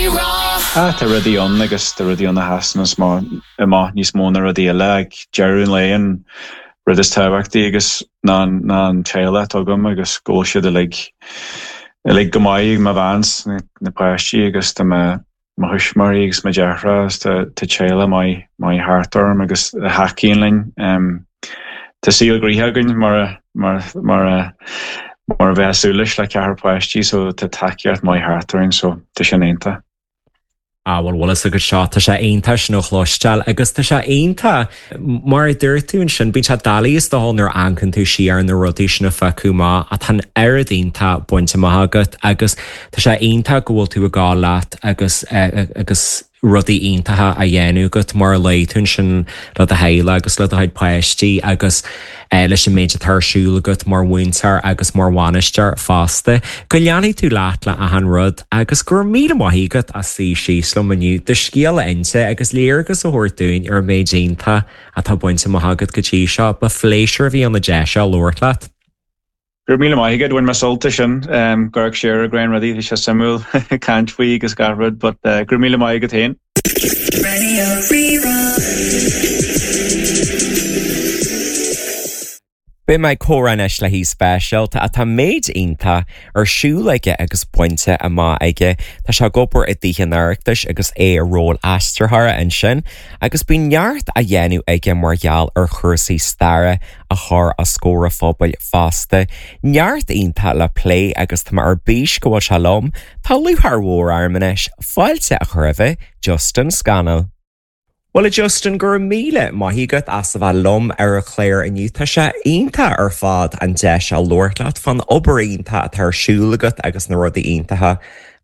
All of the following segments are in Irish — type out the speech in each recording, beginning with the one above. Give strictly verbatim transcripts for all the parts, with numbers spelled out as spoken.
Rí-Rá. Ah, tá rudaí ann agus tá rudaí ann a sheasann amach níos mó ná rudaí eile ag deireadh an lae an rud is tábhachtaí agus ná ná an teaghlach atá agam agus go bhfuil siad uilig uilig go maith mo bhean na páistí agus tá mo mo thuismitheoirí agus mo dheartháir agus tá tá teaghlach maith maith thart orm agus a thacaíonn linn. Um, tá saol gnoitheach againn mar a mar mar a mar a bheith súil leis le ceathrar páistí so tá tacaíocht maith thart orainn so tá sin iontach. Ah bhuel bhfuil a fhios agat seo tá sé iontach sin a chloisteáil agus tá sé iontach mar a dúirt tú ansin bíonn sé doiligh is dócha nuair a amharcann tú siar na rudaí sin a phiocadh amach ach tá an oiread iontach bainte amach agat agus tá sé iontach go bhfuil tú ag gabháil leat agus agus rudaí iontacha a dhéanamh agat mar a luaigh tú ansin le do theaghlach agus le do chuid páistí agus leis an méid atá ar siúl agat mar mhúinteoir agus mar bhainisteoir fosta. Go leanfaidh tú leat le achan rud agus go raibh míle maith agat as suí síos liom inniu do scéal a inse agus léargas a thabhairt dúinn ar an méid iontach atá bainte amach agat go dtí seo, ba phléisiúr a bhí ann an deis seo labhairt leat. Go raibh míle maith agat bhain mé sult as sin go siar ag roinnt rudaí bhí sé suimiúil caint faoi agus gach rud, but uh, go raibh míle maith agat féin. Radio Rí-Rá. Beidh mé ag comhrá anois le haoi speisialta atá méid iontach ar siúl aige agus bainte amach aige. Tá sé ag obair i dTithe an Oireachtais agus é i ról aistritheora ansin, agus bíonn neart á dhéanamh aige mar gheall ar chúrsaí staire a chur os comhair an phobail fosta. Neart iontach le plé agus tá mé ar bís go bhfuil sé liom, Tá lúcháir mhór orm anois fáilte a chur roimh Justin Scannell. Well a Justin go raibh míle maith agat as a bheith liom ar an chlár inniu tá sé iontach ar fad an deis a labhairt leat fán obair iontach atá ar siúl agat agus na rudaí iontacha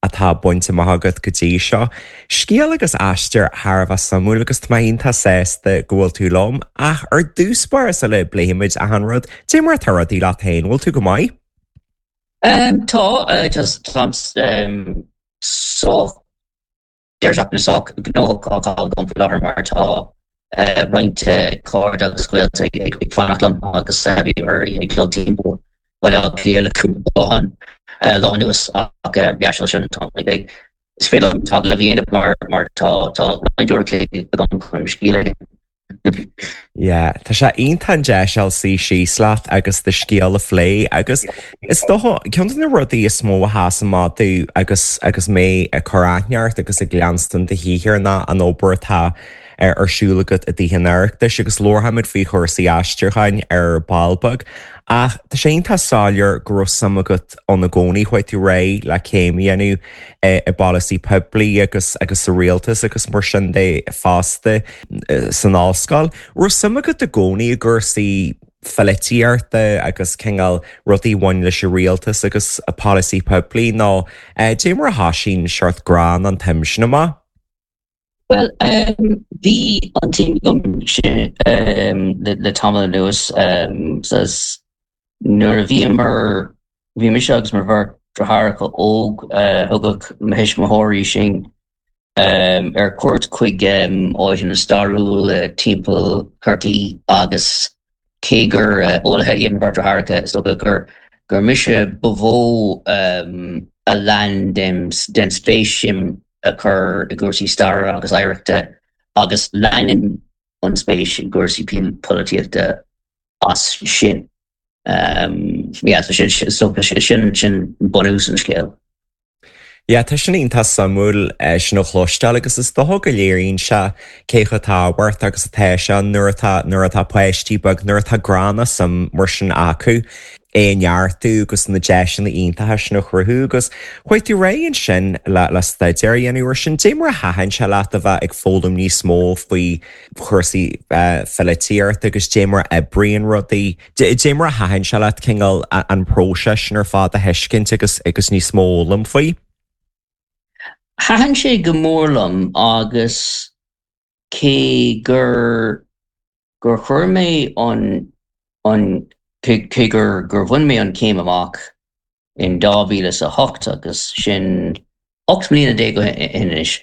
atá bainte amach agat go dtí seo. Scéal agus aistear thar a bheith suimiúil agus tá mé iontach sásta go bhfuil tú liom ach ar dtús báire sula bpléimid achan rud, Dé mar atá rudaí leat féin, bhfuil tú go maith? Um, tá uh, just tá um, sách deireadh seachtaine sách gnóthach á agam faoi láthair mar tá uh, roinnt cairde agus gaolta ag ag fanacht liom agus bhí ar ag dul timpeall Baile Átha Cliath le cúpla lá lá anuas ach yeah sin tá ag is féidir liom tá le dhéanamh mar mar tá tá roinnt uair agam chun scéal Yeah, Tá sé iontach an deis suí síos leat agus do scéal a phlé agus is dócha ceann de na rudaí is mó a sheas amach domh agus agus mé ag cur aithne ort agus ag leanstan do shaothar ná an obair atá ar ar siúl agat i dTithe an Oireachtais agus labharfaimid faoi chúrsaí aistriúcháin ar ball beag. Ach tá sé iontach soiléir go raibh suim agat ann i gcónaí chuaigh tú ar aghaidh le céim a dhéanamh i bpolasaí poiblí agus agus sa rialtas agus mar sin de fosta san ollscoil. Raibh suim agat i gcónaí i gcúrsaí polaitíochta agus cineál rudaí a bhain leis an rialtas agus a polasaí poiblí nó dé mar a thosaigh seort grá an tsuim sin amach. Well um, bhí an tsuim agam sin um, le, le tamall anuas um, says nuair a bhíomar bhí mise agus mo bheirt deartháireacha óg uh, thugadh mo thuismitheoirí sinn um, ar cuairt chuig um, áiteanna stairiúla timpeall Chorcaí agus cé gur uh, eolaithe iad mo bheirt deartháireacha is dócha gur gur mise ba mhó um, a lean den, den spéis sin a chur i gcúrsaí staire agus oidhreachta agus leanann an spéis i gcúrsaí polaitíochta as sin. Um, yeah, so sin so sin sin bunús an scéil. Ja, tá sin iontach suimiúil sin a chloisteáil agus is dócha go léiríonn sé cé chomh tábhachtach agus atá sé nuair atá nuair atá páistí beag nuair atá grá nó suim mar sin acu é a neartú agus na deiseanna iontacha sin a chruthú agus chuaigh tú ar aghaidh ansin le le staidéar a dhéanamh ar sin dé mar a thaitin sé leat a bheith ag foghlaim níos mó faoi chúrsaí polaitíochta agus dé mar a oibríonn rudaí dé mar a thaitin sé leat cineál an próiseas sin ar fad a thuiscint agus agus níos mó a fhoghlaim faoi. Thaitin sé go mór liom agus cé gur gur chuir mé an an cé gur gur bhain mé an céim amach in dhá mhíle is a hocht agus sin ocht mbliana déag ó shin anois.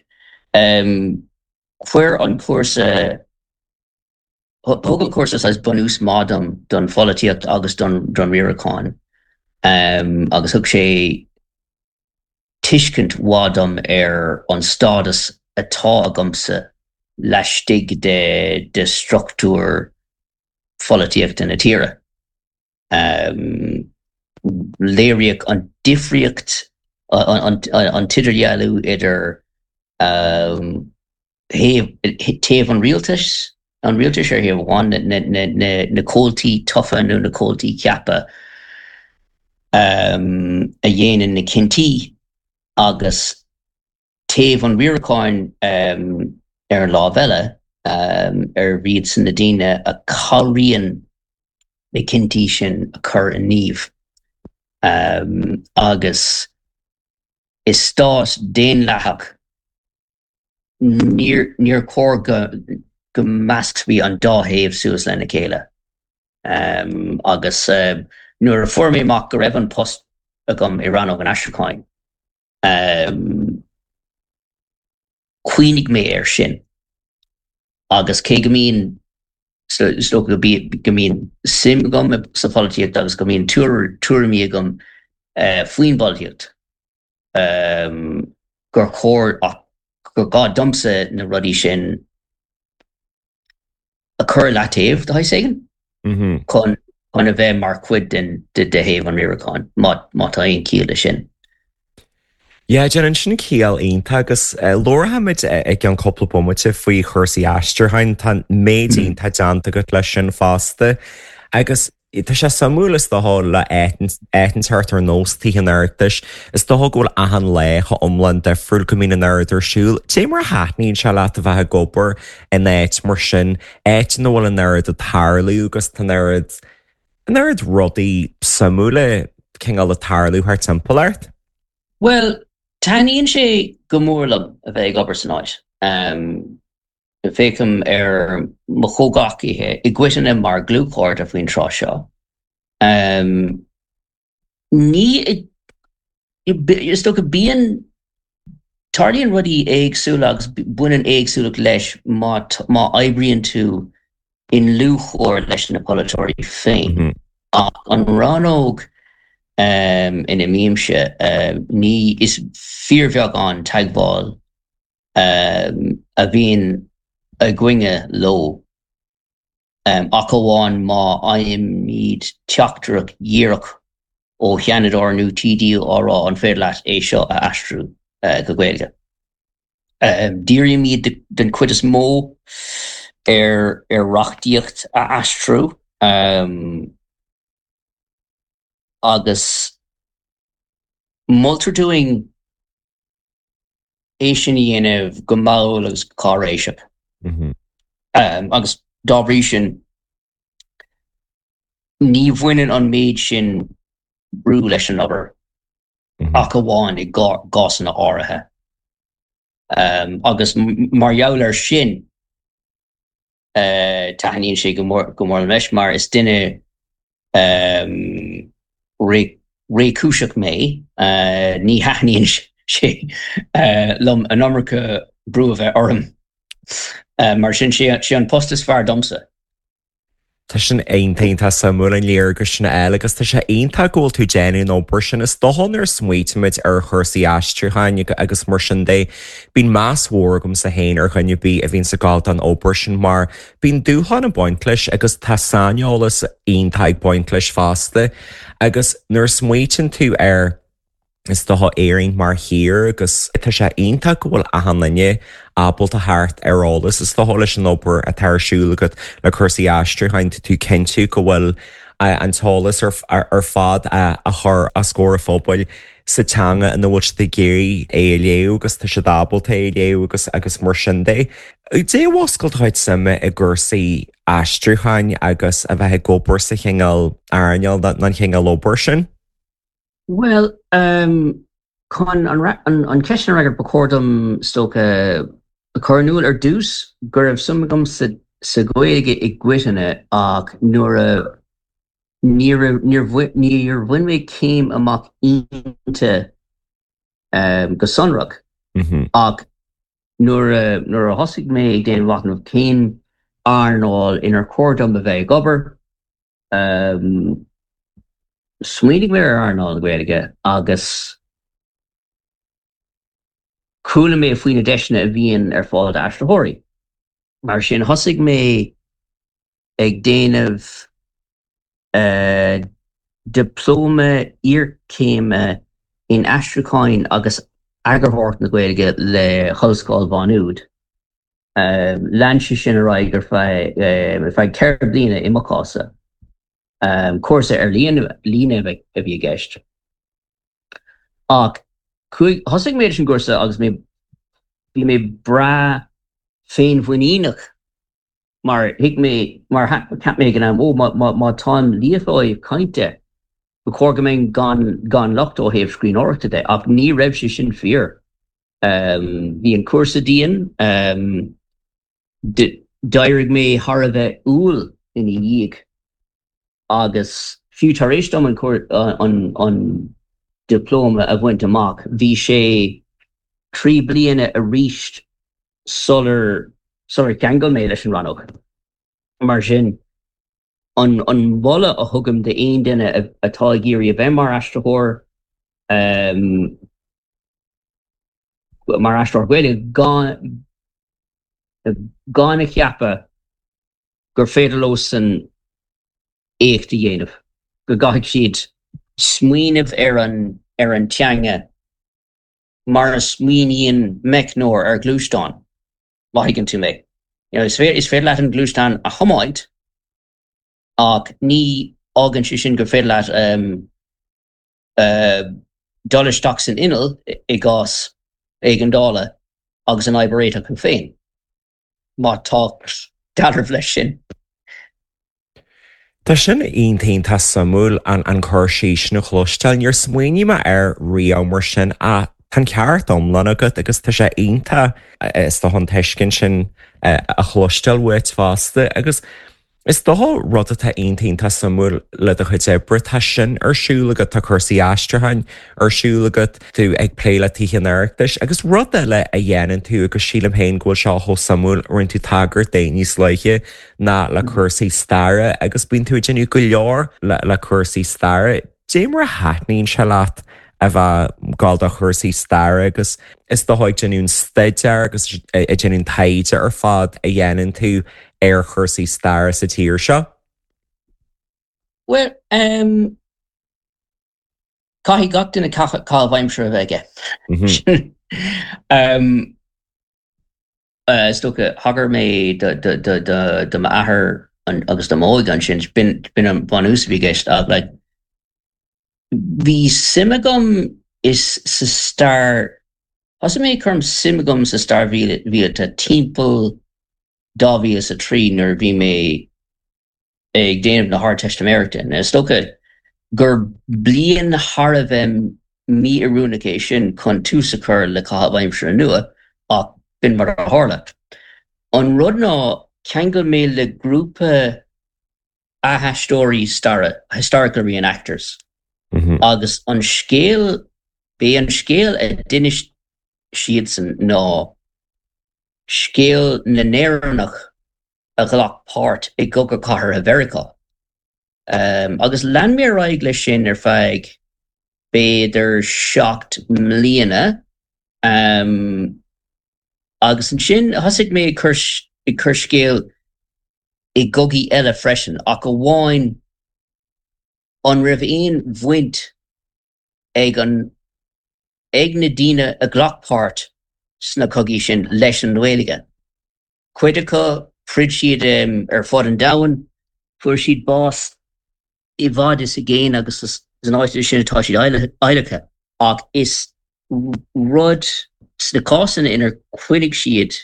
Um, chuir an cúrsa thug an cúrsa saghas bunús maith dom don pholaitíocht agus don don riarachán um, agus thug sé tuiscint mhaith dom ar an stádas atá agamsa laistigh de de struchtúr pholaitíochta na tíre. Um, léiríodh an difríocht an, an, an t-idirdhealú idir um, taobh an rialtais an rialtais ar thaobh amháin na, na, na, na comhaltaí tofa nó na comhaltaí ceaptha um, a dhéanann na cinntí agus taobh an riaracháin um, ar an lámh eile um, ar iadsan na daoine a chabhraíonn na cinntí sin a chur i ngníomh. Um, agus is stát daonlathach níor níor chóir go go meascfaí an dá thaobh suas lena chéile. Um, agus uh, nuair a fuair mé amach go raibh an post agam i rannóg an aistriúcháin. Um, Chuimhnigh mé air sin. Agus cé go mbíonn so go go mbíonn suim agam sa pholaitíocht agus go mbíonn tuairimí agam uh, faoin bpolaitíocht. Um, gur chóir gur gá domsa na rudaí sin a chur le taobh de éigin chun chun a bheith mar chuid den de de thaobh an riaracháin má má tá aon chiall leis sin. Ja déanann sin ciall iontach agus labharfaimid i gceann cúpla bomaite faoi chúrsaí aistriúcháin tá méid iontach déanta agat leis sin fosta. Agus tá sé suimiúil is dócha le áit ar nós Tithe an Oireachtais, is dócha go bhfuil achan lá go hiomlán difriúil go mbíonn an oiread ar siúl. Cé mar a thaitníonn sé leat a bheith ag obair in áit mar sin, áit ina bhfuil an oiread ag tarlú agus tá an oiread an oiread rudaí suimiúla cineál ag tarlú thar timpeall ort? Well, taitníonn sé go mór liom a bheith ag obair san áit. Um, Féachaim ar mo chomhghleacaithe i gcoitinne mar dhlúthchairde faoin tráth seo. Um, ní is dócha bíonn tarlaíonn rudaí éagsúla agus baineann éagsúlacht leis má má oibríonn tú i ndlúthchomhar leis na polaiteoirí féin. Mm -hmm. Ach an rannóg um, ina mbímse um, ní is fíorbheagán teagmháil um, a bhíonn againne leo. Um, ach amháin má fhaighimid teachtaireacht dhíreach ó Sheanadóir nó TD á rá an féidir leat é seo a aistriú uh, go Gaeilge. Um, dírímid den chuid is mó ar ar reachtaíocht a aistriú um, agus moltar dúinn é sin a dhéanamh go mall agus cáiréiseach. Mm -hmm. um, agus dá bhrí sin ní bhaineann an méid sin brú leis an obair mm -hmm. ach amháin i gcásanna áirithe. Um, agus mar gheall air sin uh, taitníonn sé go mór go mór leis mar is duine um, réchúiseach mé uh, ní thaitníonn sé uh, liom an iomarca brú a bheith orm. Uh, mar sin sé sé an post is fearr domsa. Tá sin iontach suimiúil an léargas sin eile agus tá sé iontach go bhfuil tú déanamh an obair sin is dócha nuair a smaoitímid ar chúrsaí aistriúcháin agus mar sin de bíonn meas mór agamsa féin ar dhuine ar bith a bhíonn ag gabháil don obair sin mar bíonn dúshlán ag baint leis agus tá saineolas iontach ag baint leis fosta agus nuair a smaoitíonn tú ar is dócha Éirinn mar thír agus tá sé iontach go bhfuil achan duine ábalta theacht ar eolas is dócha leis an obair atá ar siúl agat le cúrsaí aistriúcháin tú cinntiú go bhfuil an t-eolas ar, ar fad a, a chur os comhair an phobail sa teanga ina bhfuil siad ag iarraidh é a léamh agus tá siad ábalta é a léamh agus agus mar sin de. Cad é a mhúscail do chuid suime i gcúrsaí aistriúcháin agus a bheith ag obair sa chineál earnáil an chineál obair sin? Well, um, chun an, an, an ceist a fhreagairt ba chóir dom is dócha a chur in iúl ar dtús go raibh suim agam sa, sa Ghaeilge i gcoitinne ach nuair a níor níor bhain mé céim amach inti um, go sonrach Mm -hmm. ach nuair a nuair a thosaigh mé ag déanamh machnamh cén earnáil inar chóir dom a bheith ag obair um, smaoinigh mé ar earnáil na Gaeilge agus Chuala mé faoi na deiseanna a bhíonn ar fáil d'aistritheoirí. Mar sin thosaigh mé ag déanamh uh, dioplóma iarchéime in aistriúchán agus eagarthóireacht na Gaeilge le hOllscoil Mhá Nuad. Um, lean sé sin ar aghaidh ar feadh um, ar feadh ceithre bliana i mo chás. Um, cúrsa ar líne líne a bhí i gceist. Ach thosaigh mé sin cúrsa agus mé bhí mé breá féinmhuiníneach mar thuig mé mar cheap mé an ó má táim líofa ó thaobh cainte ba chóir go mbeinn gan gan locht ó thaobh scríbhneoireachta de ach ní raibh sé sin fíor. Um, bhí an cúrsa dian um, d'éirigh mé thar a bheith umhal ina dhiaidh agus fiú tar éis dom an, an, an dioplóma a bhaint amach, bhí sé trí bliana arís sular sular cheangail mé leis an rannóg. Mar sin an an moladh a thugaim d'aon duine atá ag iarraidh a bheith mar aistritheoir um, mar aistritheoir Gaeilge gan gan a cheapadh gur féidir leo san éacht a dhéanamh, go gcaithfidh siad smaoineamh ar an ar an teanga mar a smaoiníonn meicneoir ar ghluaisteán má thuigeann tú mé. You know, is féidir is féidir leat an gluaisteán a thiomáint ach ní fhágann sé sin gur féidir leat um, uh, dul isteach san inneall i gcás éigeandála agus an fhadhb a réiteach tú féin. Má tá dealramh leis sin. Tá sin iontach suimiúil an an cur síos sin a chloisteáil, níor smaoinigh mé air riamh mar sin ach tá an ceart iomlán agat agus tá sé iontach is dócha an tuiscint sin a chloisteáil uait fosta agus is dócha rud atá iontach suimiúil le do chuid oibre tá sin ar siúl agat tá cúrsaí aistriúcháin ar siúl agat tú ag plé le Tithe an Oireachtais agus rud eile a dhéanann tú agus sílim féin go bhfuil seo chomh suimiúil rinne tú tagairt dó níos luaithe ná le cúrsaí staire agus bíonn tú ag déanamh go leor le, le cúrsaí staire. Dé mar a thaitníonn sé leat a bheith ag gabháil do chúrsaí staire agus is dócha ag déanamh staidéar agus ag déanamh taighde ar fad a dhéanann tú ar chúrsaí staire sa tír seo? Well, um, caithfidh gach duine caitheamh aimsire a bheith aige. um, uh, is dócha thagair mé do m'athair agus do m'óige ansin b'in b'in an bunús a bhí i gceist ach like, bhí suim agam is sa stair Thosaigh mé chur suim agam sa stair mhíleata timpeall dhá mhíle is a trí nuair a bhí mé ag déanamh na hArdteistiméireachta. Is dócha gur bliain thar a bheith mí-oiriúnach é sin chun tús a chur le caitheamh aimsire nua ach b'in mar a tharla. An rud ná cheangail mé le grúpa athaisteoirí staire, historical reenactors. Mm -hmm. Agus an scéal b'é an scéal a d'inis siadsan ná scéal na nÉireannach a ghlac páirt i gCogadh Cathartha Mheiriceá. Um, agus lean mé ar aghaidh leis sin ar feadh b'fhéidir seacht mbliana um, agus ansin thosaigh mé ag cur ag cur scéal i gcogaí eile freisin ach amháin an raibh aon bhaint ag an ag na daoine a ghlac páirt sna cogaí sin leis an nGaeilge. Cuid acu throid siad um, ar fud an domhain, fuair siad bás i bhfad is i gcéin agus san áit sin atá siad adhlactha ach is rud sna cásanna inar choinnigh siad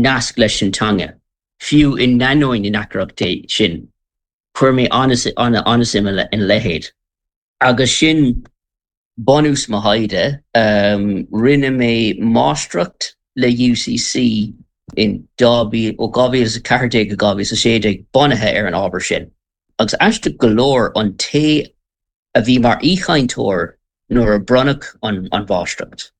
nasc leis an teanga. Fiú in ainneoin na ndeacrachtaí sin, chuir mé an-suim ina leithéid. Agus sin bunús mo thaighde, um, rinne mé máistreacht le UCC in ó dhá mhíle a ceathair déag go dhá mhíle a sé déag bunaithe ar an ábhar sin. Agus aisteach go leor an té a bhí mar aoichainteoir nuair a bronnadh an, an mháistreacht.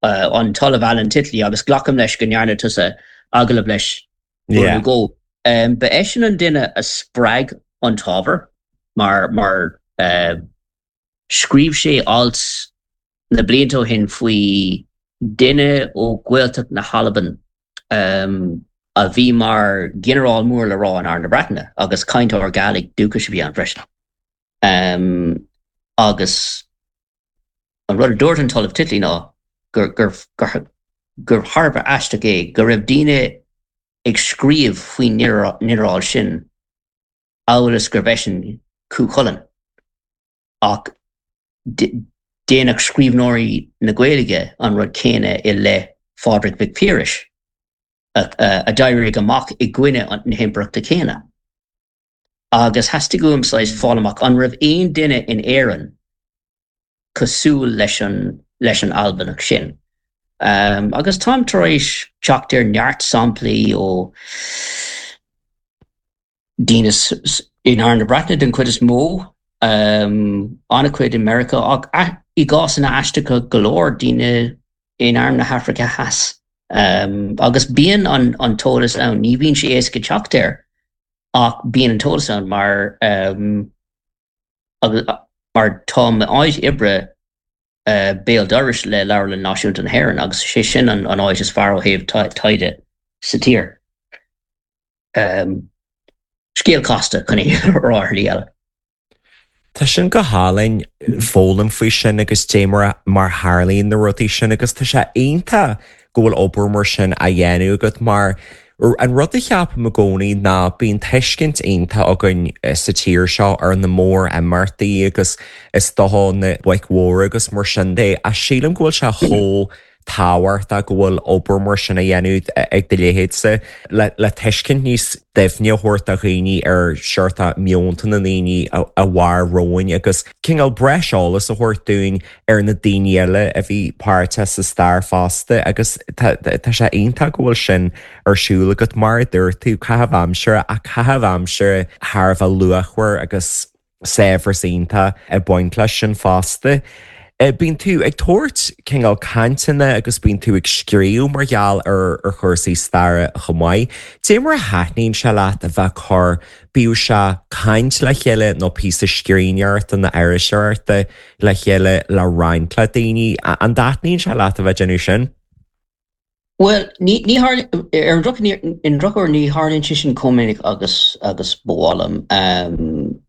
Uh, an tOllamh Alan Titley agus glacaim leis go ndearna tusa agallamh leis yeah. go. Um, ba eisean an duine a spreag an t-ábhar mar mar uh, scríobh sé alt na blianta ó shin faoi duine ó Ghaeltacht na hAlban a bhí mar ghinearál mór le rá in Arm na Breataine agus cainteoir Gàidhlig dúchais a bhí ann freisin. Agus an rud a dúirt an tOllamh Titley ná gur gur gur thar a bheith aisteach é go raibh daoine ag scríobh faoin nginearál sin amhail is gurbh eisean Cú Chulainn. Ach déanadh scríbhneoirí na Gaeilge an rud céanna i leith Phádraig Mhic Piarais a d'éirigh amach i gcoinne na himpireachta céanna. Agus theastaigh uaim saghas fáil amach an raibh aon duine in Éirinn cosúil leis an leis an Albanach sin. Um, agus táim tar éis teacht ar neart samplaí ó daoine in Arm na Breataine den chuid is mó, um, an-chuid i Meiriceá ach i gcásanna aisteacha go leor daoine in Arm na hAfraice Theas. Um, agus bíonn an, an t-eolas ann, ní bhíonn sé éasca teacht air ach bíonn an t-eolas ann mar um, agus, mar tá m'áit oibre uh, béal dorais le Leabharlann Náisiúnta na hÉireann agus sé sin an, an áit is fearr ó thaobh taighde sa tír. Um, scéal casta chun é rá ar shlí eile. Tá sin go hálainn foghlaim faoi sin agus dé mar mar tharlaíonn na rudaí sin agus tá sé iontach go bhfuil obair mar sin á dhéanamh agat mar an rud a cheapaim i gcónaí ná bíonn tuiscint iontach againn sa tír seo ar na mór-imeachtaí agus is dócha na boic mhóra agus mar sin de ach sílim go bhfuil sé chomh tábhachtach go bhfuil obair mar sin á dhéanamh ag do leithéidse le le tuiscint níos doimhne a thabhairt do dhaoine ar seort meonta na ndaoine a mhair romhainn agus cineál breis eolas a thabhairt dúinn ar na daoine eile a bhí páirteach sa stair fosta agus tá sé iontach go bhfuil sin ar siúl agat mar a dúirt tú caitheamh aimsire ach caitheamh aimsire thar a bheith luachmhar agus saibhreas iontach ag baint leis sin fosta. Bíonn tú ag tabhairt cineál cainteanna agus bíonn tú ag scríobh mar gheall ar ar chúrsaí staire chomh maith. Dé mar a thaitníonn sé leat a bheith ag cur bíodh sé caint le chéile nó píosa scríbhneoireachta nó iriseoireachta le chéile le roinnt le daoine, an dtaitníonn sé leat a bheith déanamh sin? Well, ní ní ar an drochuair ní tharlaíonn sé sin chomh minic agus agus ba mhaith liom. Um,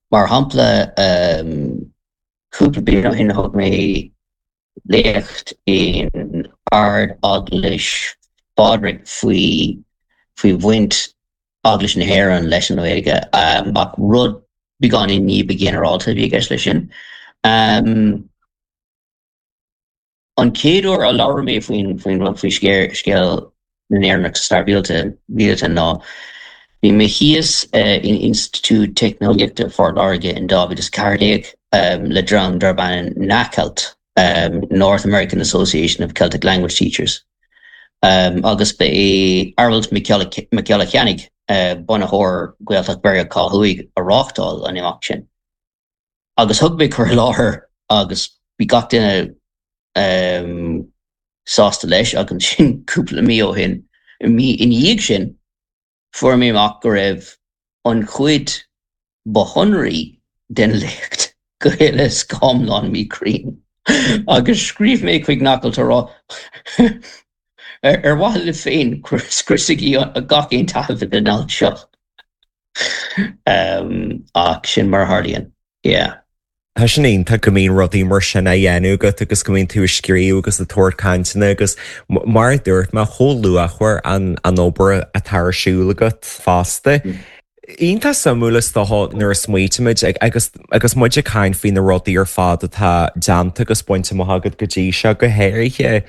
mar shampla um, cúpla bliain ó shin thug mé léacht in Ard-Eaglais Phádraig faoi faoi bhaint Eaglais na hÉireann leis an Ghaeilge um, ach rud beagáinín ní ba ghinearálta a bhí i gceist leis sin. Um, an chéad uair a labhair mé faoin faoin rud faoi scéal na nÉireannach sa stair mhíleata ná bhí mé thíos uh, in Institiúid Teicneolaíochta Phort Láirge in dhá mhíle is ceathair déag um, le dream darb ainm NACELT, um, North American Association of Celtic Language Teachers. Um, agus ba é Aralt Mac Giolla Chainnigh uh, bunaitheoir Gaeltacht Mheiriceá Thuaidh a reáchtáil an imeacht sin. Agus thug mé cur i láthair agus bhí gach duine um, sásta leis agus sin cúpla mí ó shin mí ina dhiaidh sin fuair mé amach go raibh an chuid ba shonraí den léacht go huile is go hiomlán míchruinn. Agus scríobh mé chuig NACELT á rá ar mhaithe libh féin scriosaigí gach aon taifead den alt seo. Um, ach sin mar a tharlaíonn. Yeah. Tá sin iontach go mbíonn rudaí mar sin á dhéanamh agat agus go mbíonn tú ag scríobh agus ag tabhairt cainteanna agus mar a dúirt mé chomh luachmhar an an obair atá ar siúl agat fosta. Mm. Iontach suimiúil is dócha nuair a smaoitímid agus agus muid ag caint faoi na rudaí ar fad atá déanta agus bainte amach agat go dtí seo go háirithe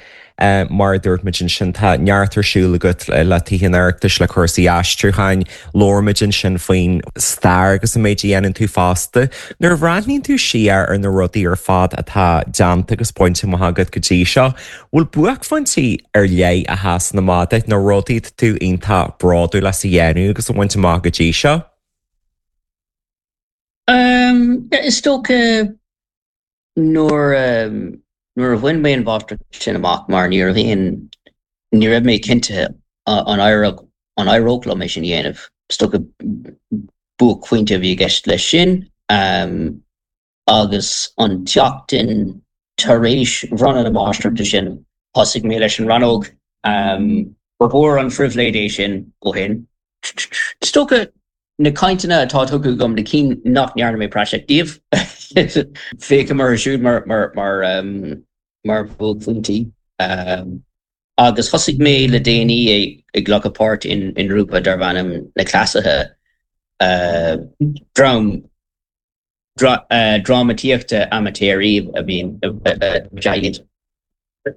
mar a dúirt muid ansin tá neart ar siúl agat le Tithe an Oireachtais le cúrsaí aistriúcháin, labhair muid ansin faoin stair agus an méid a dhéanann tú fosta. Nuair a bhreathnaíonn tú siar ar na rudaí ar fad atá déanta agus bainte amach agat go dtí seo, bhfuil buaicphointí ar leith a sheasann amach duit nó rudaí atá tú iontach bródúil as a dhéanamh agus a bhaint amach go dtí seo? Um, is dócha nuair um, nuair a bhain mé an mháistreacht sin amach mar ní raibh aon ní raibh mé cinnte an éireodh an éireodh liom é sin a dhéanamh. Is dócha buaicphointe a bhí i gceist leis sin um, agus an tseachtain tar éis bhronnadh na máistreachta sin Thosaigh mé leis an rannóg. Ba mhór an phribhléid é sin ó shin. Is dócha na cainteanna atá tugtha agam, na cinn nach ndearna mé praiseach díobh, féachaim orthu siúd mar mar mar bhuaicphointí. Agus thosaigh mé le déanaí ag glacadh páirt i ngrúpa darb ainm Na Cleasaithe, dream drámaíochta amaitéaraí a bhíonn iad.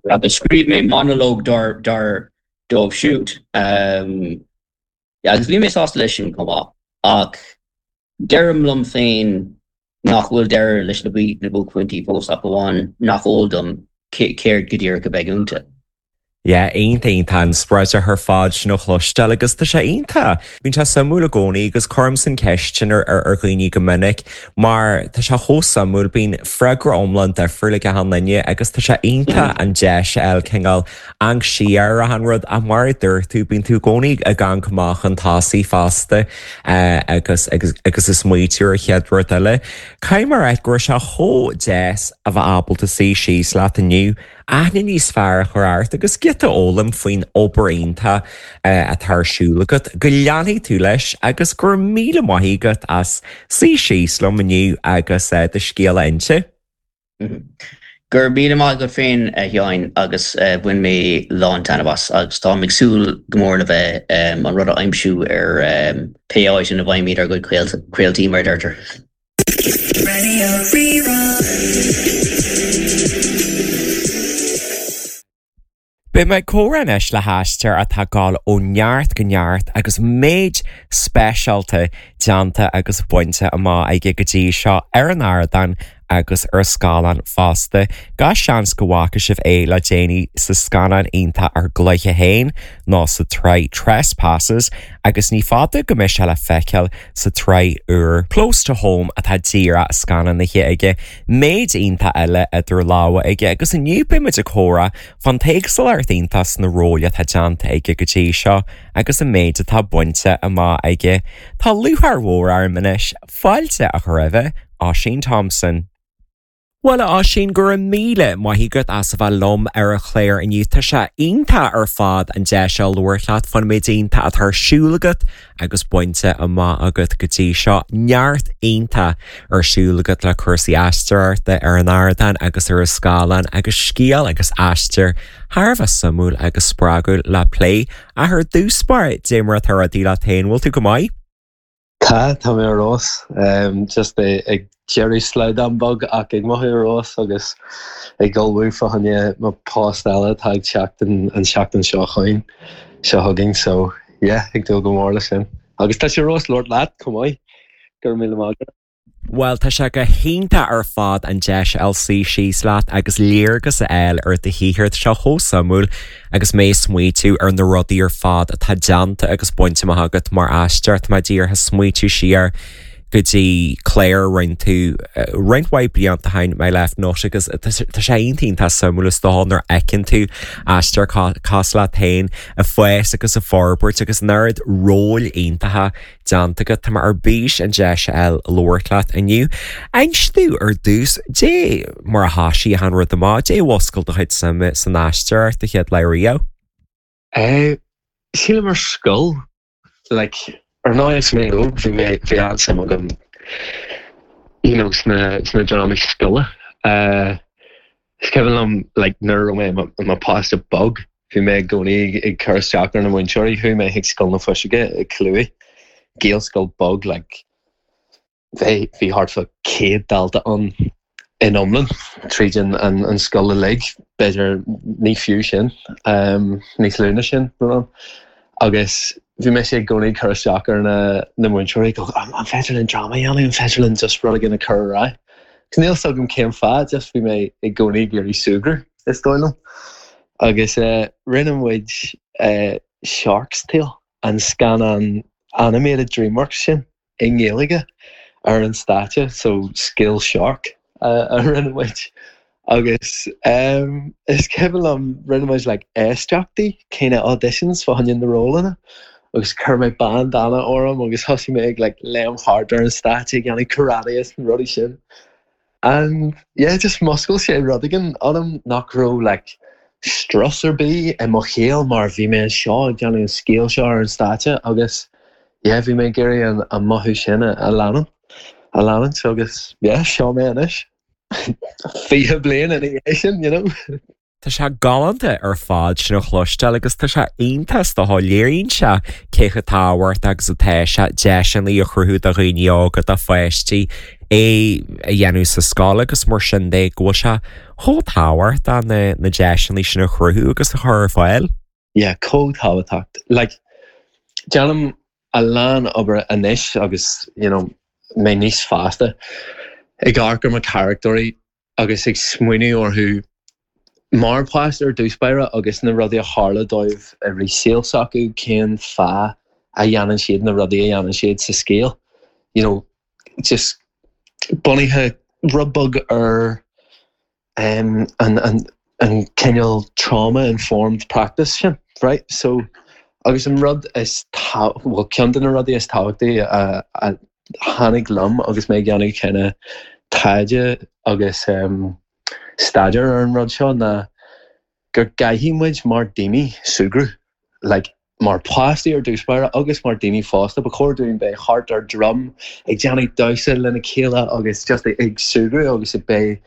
Agus scríobh mé monalóg dar dóibh siúd. Agus bhí mé sásta leis sin chomh maith. Ach deirim liom féin nach bhfuil deireadh leis na buaicphointí fós ach amháin nach eol dom céard go díreach a bheidh iontu. Yeah, iontach iontach an-spreagúil ar fad sin a chloisteáil agus tá sé iontach. Bíonn sé suimiúil i gcónaí agus cuirimse an cheist sin ar ar dhaoine go minic mar tá sé chomh suimiúil, bíonn freagra iomlán difriúil ag achan duine agus tá sé iontach an deis a fháil cineál amharc siar ar achan rud ach mar a dúirt tú, bíonn tú i gcónaí ag amharc amach chun tosaigh fosta agus agus agus ag smaoitiú ar an chéad rud eile. Caithfidh mé a rá go raibh sé chomh deas a bheith ábalta suí síos leat inniu aithne níos fearr a chur ort agus giota a fhoghlaim faoin obair iontach atá ar siúl agat, go leanfaidh tú leis agus go raibh míle maith agat as suí síos liom inniu agus do scéal a inse. Go raibh míle maith agat féin, a Sheáin, agus bhain mé lán-taitneamh as agus táim ag súil go mór le bheith an rud a aimsiú ar pé áit ina bhfaighimid ár gcuid craoltaí, mar a deirtear. Radio Rí-Rá. Beidh mé ag comhrá anois le haisteoir atá ag gabháil ó neart go neart agus méid speisialta déanta agus bainte amach aige go dtí seo ar an ardán agus ar scáileán fosta. Gach seans go bhfaca sibh é le déanaí sa scannán iontach Ár gCluiche Féin nó sa tsraith Trespassers agus ní fada go mbeidh sé le feiceáil sa tsraith úr Close to Home atá díreach scannánaithe aige. Méid iontach eile idir lámha aige agus inniu beidh muid ag comhrá fán t-éagsúlacht iontach sna róil atá déanta aige go dtí seo agus an méid atá bainte amach aige. Tá lúcháir mhór orm anois fáilte a chur roimhe, Oisín Thompson. Bhuel a Oisín, go raibh míle maith agat as a bheith liom ar an chlár inniu. Tá sé iontach ar fad an deis seo labhairt leat fán méid iontach atá ar siúl agat agus bainte amach agat go dtí seo. Neart iontach ar siúl agat le cúrsaí aisteoireachta ar an ardán agus ar an scáileán agus scéal agus aistear thar a bheith suimiúil agus spreagúil le plé. Ach ar dtús báire, dé mar atá rudaí leat féin, bhfuil tú go maith? Tá, tá mé ar fheabhas. Just ag deireadh slaghdán beag ach ag mothú ar fheabhas agus ag ullmhú fá choinne mo post eile atá ag teacht an tseachtain seo chugainn, seo chugainn so yeah, ag dúil go mór leis sin. Agus tá sé ar fheabhas labhairt leat chomh maith. Go raibh míle maith agat. Bhuel, tá sé go hiontach ar fad an deis a fháil suí síos leat agus léargas a fháil ar do shaothar. Tá sé chomh suimiúil agus mé ag smaoitiú ar na rudaí ar fad atá déanta agus bainte amach agat mar aisteoir. Tá mé díreach ag smaoitiú siar go dtí clár a rinne tú roinnt mhaith blianta ó shin, My Left Nut, agus tá sé iontach iontach suimiúil is dócha nuair a fheiceann tú aisteoir cosúil leat féin ag fás agus ag forbairt agus an oiread róil iontacha déanta agat. Tá mé ar bís an deis a fháil labhairt leat inniu. Inis domh ar dtús, dé mar a thosaigh an rud amach, dé a mhúscail do chuid suime san aisteoireacht an chéad lá riamh? Eh, sílim ar scoil, like, ar ndóigh is mé óg, bhí mé, bhí an-suim agam, you know, sna, sna drámaí scoile. Eh, is cuimhin liom, like, nuair a raibh mé i mo, i mo pháiste beag, bhí mé i gcónaí ag cur isteach ar na múinteoirí. Chuaigh mé chuig Scoil na Fuiseoige i gCill Uaighe, Gaelscoil beag, like, bhí, bhí thart fá céad dalta ann in iomlán tríd an, an, an scoil uilig, b'fhéidir ní fiú sin, um, níos lú ná sin, brón. Agus bhí mise i gcónaí ag cur isteach ar na, na múinteoirí, go, an, an féidir linn dráma a dhéanamh, an féidir linn just rud éigin a chur ar aghaidh? Agus níl 'fhios agam cén fáth, just bhí mé i gcónaí ag iarraidh súgradh, is dóigh liom. Agus eh, rinne muid eh, Shark's Tale, an scannán animated DreamWorks sin, i nGaeilge ar an stáitse, so scéal shark a rinne muid. Agus um, is cuimhin liom rinne muid like éisteachtaí, kind of auditions fá choinne na rólanna, agus chuir mé bandana orm agus thosaigh mé ag like léim thart ar an stáitse ag déanamh karate is na rudaí sin. And yeah, just mhúscail sé rud éigin ionam nach raibh like strus ar bith i mo shaol mar bhí mé anseo ag déanamh an scéal seo ar an stáitse agus yeah bhí mé ag iarraidh an an mothú sin a a leanúint a leanúint agus yeah seo mé anois fiche bliain ina dhiaidh sin you know. Tá sé galánta ar fad sin a chloisteáil agus tá sé iontach is dócha léiríonn sé cé chomh tábhachtach agus atá sé deiseanna a chruthú do dhaoine óga do pháistí é a dhéanamh sa scoil agus mar sin de go bhfuil sé chomh tábhachtach na na deiseanna sin a chruthú agus a chur ar fáil. Yeah, chomh tábhachtach. Like, déanaim a lán obair anois agus you know, mé níos fásta ag amharc ar mo charachtóirí agus ag smaoineamh orthu mar pháiste ar dtús báire agus na rudaí a tharla dóibh i rith saol s'acu cén fáth a dhéanann siad na rudaí a dhéanann siad sa scéal. You know, just bunaithe rud beag ar um, an, an, an cineál trauma informed practice sin, right? So agus an rud is well ceann de na rudaí is tábhachtaí a, a tháinig liom agus mé ag déanamh cineál taighde agus um, staidéar ar an rud seo ná gur caithfidh muid mar daoine súgradh like, mar pháistí ar dtús báire agus mar daoine fásta ba chóir dúinn bheith thart ar drum ag déanamh damhsa lena chéile agus just ag súgradh agus ag bheith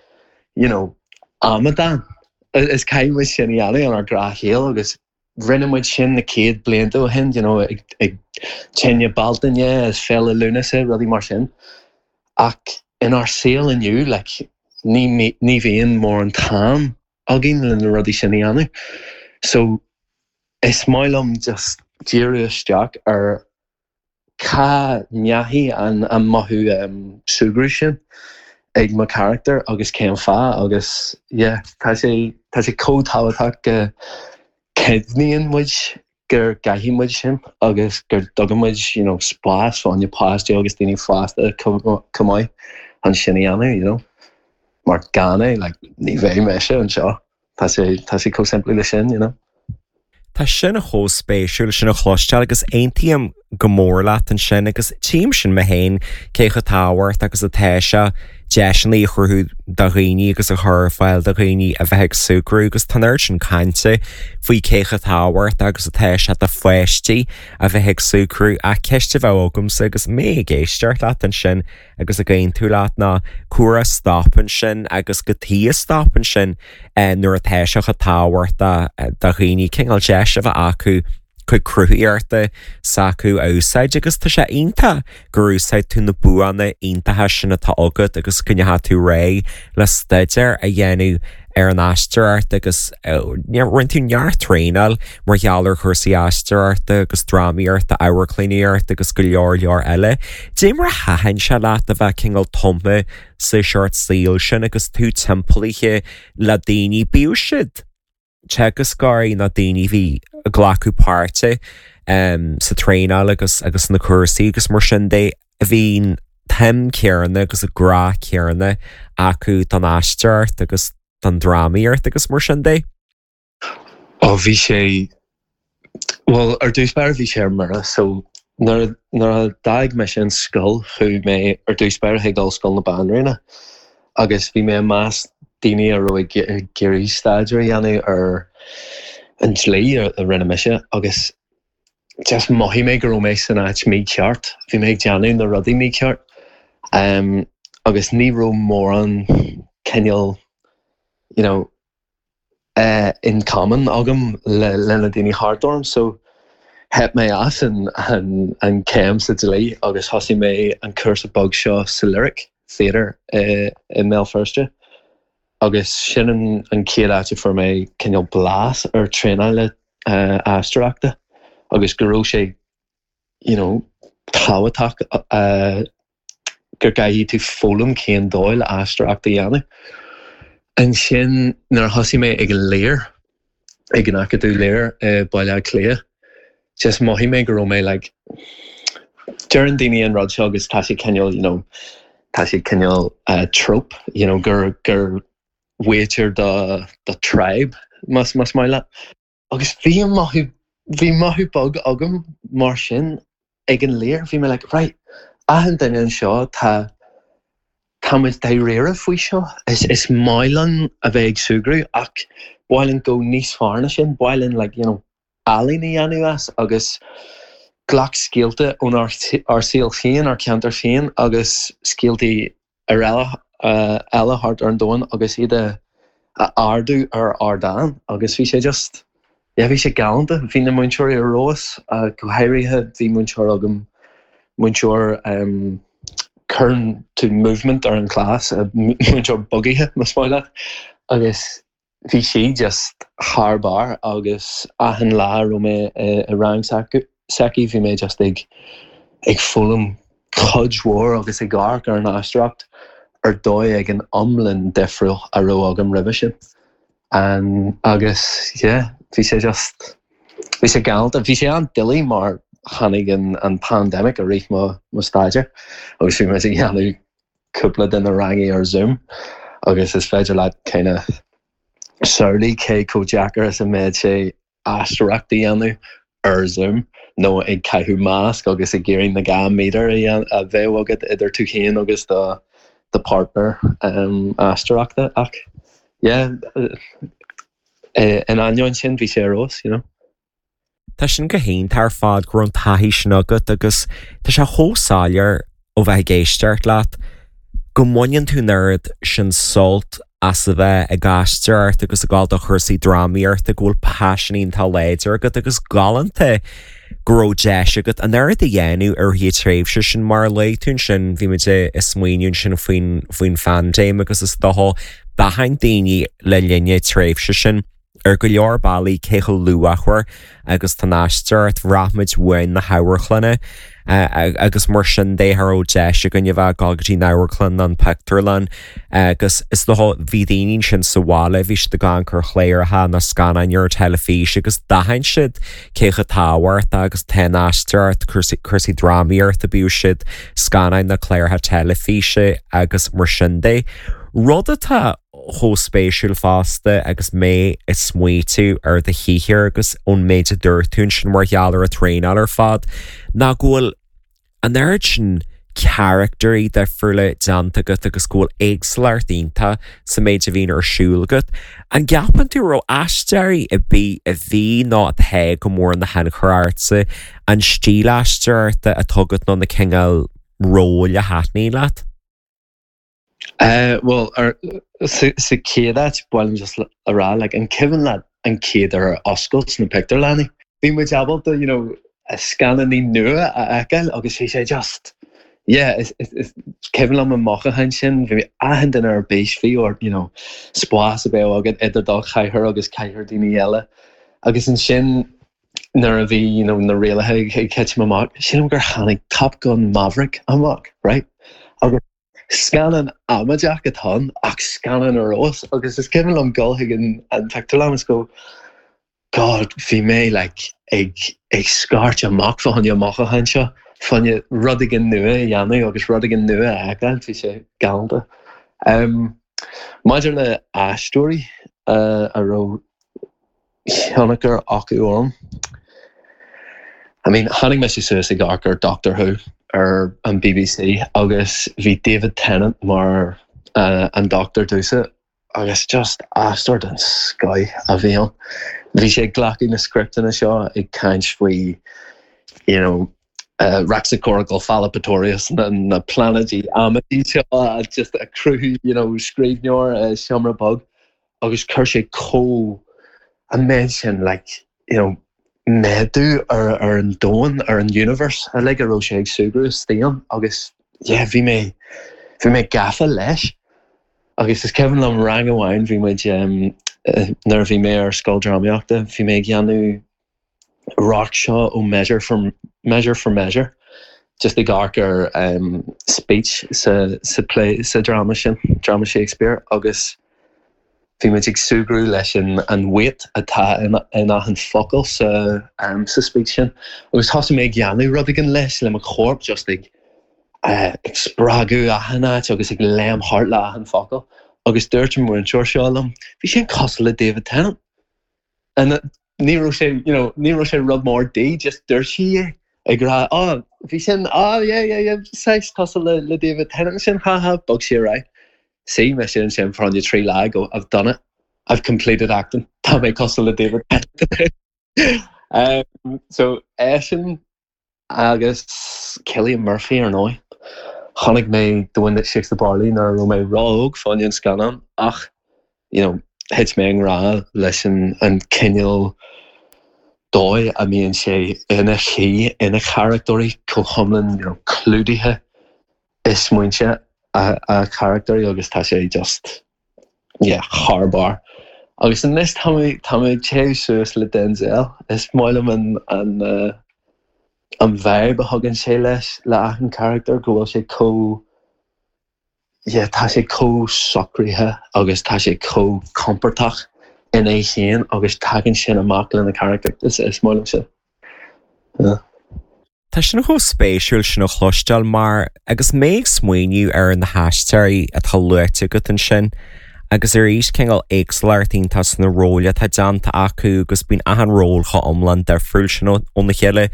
you know, amadán. Is caithfidh muid sin a dhéanamh inár ngnáthshaol agus rinne muid sin na céad blianta ó shin you know, ag, ag tine Bealtaine is Féile Lúnasa rudaí mar sin. Ach inár saol inniu like, ní, ní bhíonn mórán t-am againn le na rudaí sin a dhéanamh. So is maith liom just díriú isteach ar cá ndeachaigh an an mothú um, súgradh sin ag mo charachtar agus cén fáth agus yeah, tá sé tá sé chomh tábhachtach go cuimhníonn muid gur caithfidh muid sin agus gur dtugann muid you know, spás fá na páistí agus daoine fásta chomh maith an sin a dhéanamh, you know. Mar gan é like, ní bheidh mise anseo Tá sé tá sé chomh simplí le sin, you know. Tá sin chomh spéisiúil sin a chloisteáil agus aontaím go mór leat ansin agus tchím sin mé féin cé chomh tábhachtach agus atá sé deiseanna a chruthú do dhaoine agus a chur ar fáil do dhaoine a bheith ag súgradh agus tá an sin cainte faoi cé chomh tábhachtach agus atá sé do pháistí a bheith ag súgradh ach ceist a bheith agamsa agus mé ag éisteacht leat ansin agus ag aontú leat ná cá stopann sin agus cad chuige a stopann sin eh, nuair atá sé chomh tábhachtach do dhaoine cineál deis a bheith acu chuig cruthaíochta s'acu a úsáid agus tá sé iontach gur úsáid tú na buanna iontacha sin atá agat agus go ndeachaigh tú réidh le staidéar a dhéanamh ar an aisteoireacht agus rinne tú neart traenáil mar gheall ar chúrsaí aisteoireachta agus drámaíochta amharclannaíocht agus go leor leor eile. Dé mar a thaitin sé leat a bheith cineál tumtha sa seort saoil sin agus tú timpeallaithe le daoine bíodh siad teagascóirí na daoine bhí ag glacadh páirte um, sa traenáil agus agus na cúrsaí agus mar sin de a bhí an tsuim chéanna agus an grá céanna acu don aisteoireacht agus don drámaíocht agus mar sin de. Ó bhí sé well ar dtús báire bhí sé ar mire so nuair nuair a d'fhág mé sin scoil chuaigh mé ar dtús báire chuig Ollscoil na Banríona agus bhí mé i measc daoine a raibh ag iarraidh staidéar a dhéanamh ar an dlí a rinne mise agus just mhothaigh mé go raibh mé san áit mícheart, bhí mé ag déanamh na rudaí mícheart um, agus ní raibh mórán cineál you know, uh, in common agam le le na daoine thart orm so theip mé as an, an, an céim sa dlí agus thosaigh mé an cúrsa beag seo sa Lyric Theatre uh, i mBéal Feirste. Agus sin an, an chéad áit a fuair mé cineál blas ar traenáil uh, aisteoireachta agus go raibh sé you know, tábhachtach uh, gur caithfidh tú foghlaim cén dóigh le aisteoireacht a dhéanamh. Ansin nuair a thosaigh mé ag an Lir ag an Acadamh Lir i Baile Átha Cliath, just mhothaigh mé go raibh mé like deireann daoine an rud seo agus tá sé cineál you know, tá sé cineál uh, trope you know, gur gur waiter do do tribe más más maith leat. Agus bhí an mothú bhí mothú beag agam mar sin ag an Lir, bhí mé like, right, achan duine anseo tá tá muid dáiríre faoi seo is is maith linn a bheith ag súgradh ach Ba mhaith linn go níos fearr ná sin, ba mhaith linn like, you know, ealaín a dhéanamh as agus glac scéalta ón ár saol féin, ár ceantar féin agus scéaltaí eile eile thart ar an domhan agus iad a a ardú ar ardán agus bhí sé just yeah, bhí sé galánta. Bhí na múinteoirí ar fheabhas, go háirithe bhí múinteoir agam múinteoir um, cuireann tú movement ar an class, múinteoir bugaithe más maith leat agus bhí sí just thar barr agus achan lá a raibh mé i rang s'aici bhí mé just ag ag foghlaim cuid mhór agus ag amharc ar an aisteoireacht ar dóigh ag an iomlán difriúil a raibh agam roimhe sin. Um, agus yeah, bhí sé just bhí sé galánta, bhí sé an-doiligh mar tháinig an, an pandemic i rith mo, mo staidéar agus bhí mé ag déanamh cúpla de na rangaí ar Zoom agus is féidir leat kind of samhlaigh cé chomh deacair is a mbeadh sé aisteoireacht a dhéanamh ar Zoom nó ag caitheamh masc agus ag iarraidh na dhá méadar a bheith agat idir tú féin agus do do partner um, aisteoireachta ach yeah, in ainneoin sin bhí sé ar fheabhas, you know. Tá sin go hiontach ar fad go raibh an taithí sin agat agus tá sé chomh soiléir ó bheith ag éisteacht leat go mbaineann tú an oiread sin sult as a bheith ag aisteoireacht agus ag dul do chúrsaí drámaíochta go bhfuil paisean iontach láidir agat agus galánta go raibh deis agat an oiread a dhéanamh ar an tréimhse sin mar a luaigh tú ansin bhí muid ag smaoineamh sin faoin faoin phaindéim agus is dócha d'aithin daoine le linn na tréimhse sin ar go leor bealaí cé chomh luachmhar agus tá an aisteoireacht bhraith muid uainn na hamharclanna agus mar sin de cha raibh deis againn a bheith ag dul go dtí an amharclann an pictiúrlann agus is dócha bhí daoine sin sa bhaile bhí siad ag amharc ar chláracha na scannáin ar teilifís agus d'aithin siad cé chomh tábhachtach agus tá an aisteoireacht cúrsaí drámaíochta bíodh siad scannáin na cláracha teilifíse agus mar sin de. Rud atá chomh spéisiúil fosta agus mé ag smaoitiú ar do shaothar agus ón méid a dúirt tú sin mar gheall ar an traenáil ar fad ná go bhfuil an oiread sin carachtarí difriúla déanta agat agus go bhfuil éagsúlacht iontach sa méid a bhíonn ar siúl agat. An gceapann tú raibh aisteoirí ar bith a bhí nó atá go mór ina thionchar ortsa an stíl aisteoireachta atá agat nó na cineál róil a thaitníonn leat? Uh, well ar sa chéad áit ba mhaith liom just a rá like, an cuimhin leat an chéad uair ar oscailt na pictiúrlanna. Bhí muid ábalta you know, scannáin nua a fheiceáil agus bhí sé just yeah, is, is, is cuimhin liom an mothúchán sin bhí achan duine ar bís bhí or you know, spás a bheith agat idir do chathaoir agus cathaoir daoine eile. Agus ansin nuair a bhí you know, na rialacha ag titim amach, sílim gur tháinig Top Gun Maverick amach, right? Agus scannán amaideach atá ann ach scannán ar fheabhas agus is cuimhin liom dul chuig an, an pictiúrlann is go God bhí mé like, ag, ag scairt amach fá choinne an mothúchán seo fá choinne rud éigin nua a dhéanamh agus rud éigin nua a fheiceáil bhí sé galánta. Um, maidir le aisteoirí uh, a raibh tionchar acu orm. I mean, tháinig mise suas ag amharc ar Doctor Who ar an BBC agus bhí David Tennant mar uh, an Doctor domsa agus just aisteoir den scoth a bhí ann. Bhí sé ag glacadh na scripteanna seo ag caint faoi you know, uh, Raxacoricofallapatorius na, na pláinéidí amaidí seo just a cruthú you know, scríbhneoir uh, seomra beag agus chuir sé chomh an méid sin like, you know, méadú ar, ar an domhan ar an universe a le go raibh sé ag súgradh istigh ann agus yeah, bhí mé bhí mé gafa leis. Agus is cuimhin liom rang amháin bhí muid um, nuair a bhí mé ar scoil drámaíochta, bhí mé ag déanamh rock seo ó measure for measure for measure just ag amharc ar um, speech sa, sa play sa drama sin drama Shakespeare agus bhí muid ag súgradh leis an, an weight atá in, in achan focal sa, um, sa speech sin. Agus thosaigh mé ag déanamh rud éigin leis le mo chorp just ag uh, ag spreagadh achan áit agus ag léim thart le achan focal. Agus dúirt an múinteoir seo liom, bhí sin cosúil le David Tennant. And ní raibh sé you know, ní raibh sé rud mór di, just dúirt sí é ag rá oh, bhí sin oh, yeah, yeah, yeah, saghas cosúil le, le David Tennant sin haha, bhog sí ar aghaidh. Sí me sin sin fá trí lá go I've done it. I've completed acting. Tá mé cosúil le David. um, so eisean agus Cillian Murphy ar ndóigh. Chonaic mé The Wind That Shakes the Barley nuair a raibh mé ró-óg fá choinne an scannán ach you know, thit mé i ngrá leis an, an cineál dóigh a mbíonn sé ina shuí ina charachtóirí chomh hiomlán you know, clúdaithe i smaointe a, a charachtóirí agus tá sé just yeah, thar barr. Agus anois tá mé tá mé ag téamh suas le Denzel. Is maith liom an, an, uh, an vibe a thugann sé leis le achan charachtar go bhfuil sé chomh yeah, tá sé chomh socraithe agus tá sé chomh compordach ina féin agus tagann sin amach lena charachtar. Is, is maith liom sin. Yeah. Tá sin chomh spéisiúil sin a chloisteáil mar agus mé ag smaoineamh ar na haisteoirí atá luaite agat ansin, agus arís cineál éagsúlacht iontach sna róil atá déanta acu agus bíonn achan ról chomh iomlán difriúil sin óna chéile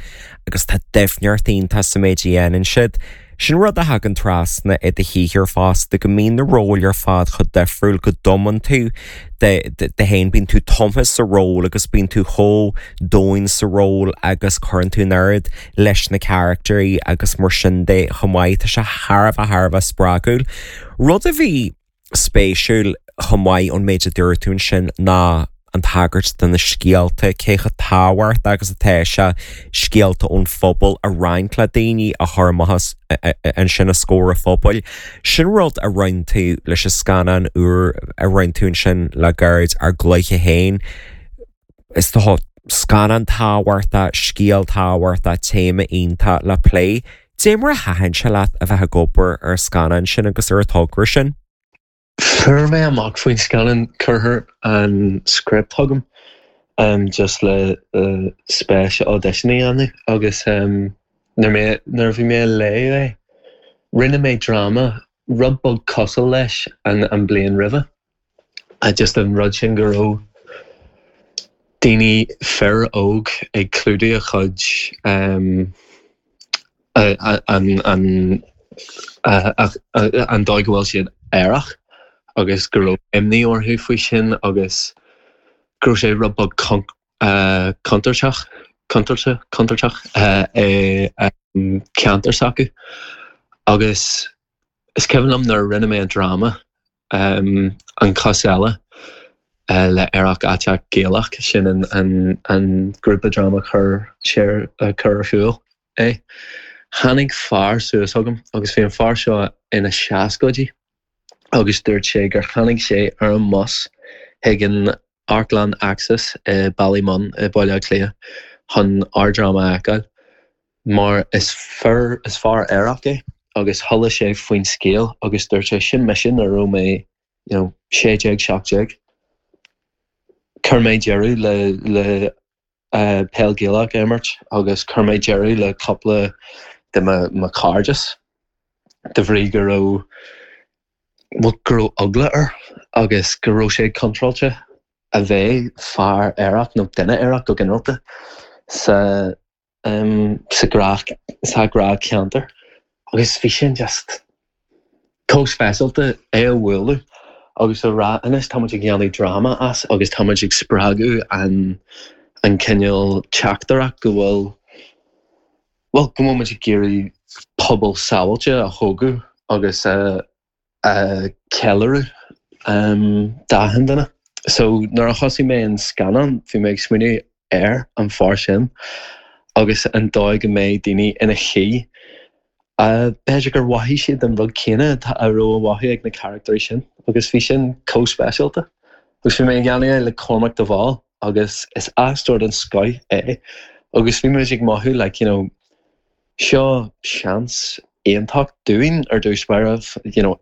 agus tá doimhneacht iontach sa méid a dhéanann siad. Sin rud a thagann trasna i do shaothar fosta go mbíonn na róil ar fad chomh difriúil go dtumann tú de de féin bíonn tú tumtha sa ról agus bíonn tú chomh domhain sa ról agus cuireann tú an oiread leis na carachtarí agus mar sin de chomh maith tá sé thar a bheith thar a bheith spreagúil. Rud a bhí spéisiúil chomh maith ón méid a dúirt tú ansin ná an tagairt do na scéalta cé chomh tábhachtach agus atá sé scéalta ón phobal a roinnt le daoine a chur amach ansin os comhair an phobail. Sin rud a rinne tú leis an scannán úr a rinne tú ansin le gairid Ár gCluiche Féin. Is tá scannán tábhachtach, scéal tábhachtach, téama iontach le plé. Cad é mar a thaitin sé leat a bheith ag obair ar an scannán sin agus ar an togra sin. Fuair mé amach faoin scannán cuireadh an script chugam um, just le uh, spéis audition a dhéanamh agus um, nuair nuair a bhí mé ag léamh é rinne mé dráma rud beag cosúil leis an, an bliain roimhe. A just an rud sin go raibh daoine fir óg ag clúdú a chuid um, an, an, an dóigh go bhfuil siad aerach agus go raibh imní orthu faoi sin agus go raibh sé rud beag contúirteach contúirteach contúirteach i ceantar s'acu. Agus is cuimhin liom nuair a rinne mé an dráma um, an cos eile uh, le Aerach Aiteach Gaelach sin an, an, an grúpa dráma chur sé uh, chur ar siúl é. Tháinig fear suas chugam agus bhí an fear seo ina seascaidí agus dúirt sé gur tháinig sé ar an mbus chuig an Amharclann Axis i Ballymun i Baile Átha Cliath chun ár dráma a fheiceáil. Mar is fear is fear aerach é agus chuala sé faoin scéal agus dúirt sé sin mise nuair a raibh mé you know, sé déag seacht déag. Chuir mé deireadh le le uh, peil Gaelach a imirt agus chuir mé deireadh le cúpla de mo chairdeas de bhrí go raibh well, go raibh eagla air agus go raibh sé contráilte a bheith fear aerach nó duine aerach go ginearálta sa um, sa ghnáth sa ghnáthcheantar agus bhí sin just chomh speisialta é a bhualadh agus a rá anois táimid ag déanamh dráma as agus táimid ag spreagadh an an cineál teachtaireacht go bhfuil well go bhfuil muid ag iarraidh pobal sábháilte a thógáil agus a a cheiliúradh um, d'achan duine. So nuair a thosaigh mé an scannán bhí mé ag smaoineamh ar an fear sin agus an dóigh go mbeidh daoine ina shuí. Uh, b'fhéidir gur mhothaigh siad an rud céanna a raibh á mhothú ag na carachtarí sin agus bhí sin chomh speisialta. Agus bhí mé ag déanamh le Cormac de Bhál agus is aisteoir den scoth é agus bhí muid ag mothú like, you know, seo seans iontach dúinn ar dtús báire you know,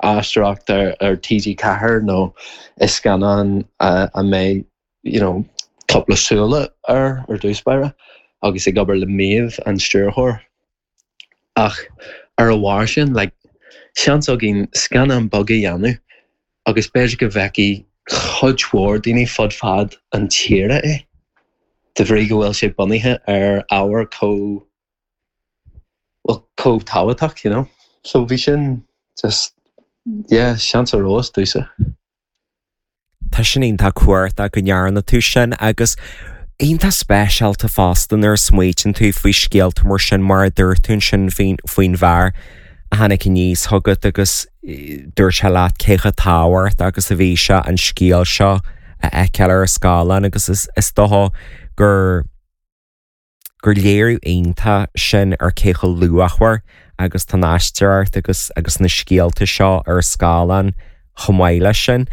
aisteoireacht ar, ar TG Ceathair nó i scannán a, a mbeidh you know, cúpla súile ar ar dtús báire agus ag obair le Méabh an stiúrthóir. Ach ar a bharr sin like, seans againn scannán beag a dhéanamh agus b'fhéidir go bhfeicfidh cuid mhór daoine fud fad an tíre é. De bhrí go bhfuil sé bunaithe ar ábhar chomh well, chomh tábhachtach, you know. So bhí sin just yeah, seans ar fheabhas domsa. Tá sin iontach cumhachtach go ndearna tú sin agus iontach speisialta fosta nuair a smaoitíonn tú faoi scéalta mar sin mar a dúirt tú ansin faoin faoin bhfear a tháinig aníos chugat agus dúirt sé leat cé chomh tábhachtach agus a bhí sé an scéal seo a fheiceáil ar an scáileán agus is is dócha gur gur léiriú iontach sin ar cé chomh luachmhar agus tá an aisteoireacht agus agus na scéalta seo ar scáileán chomh maith leis sin.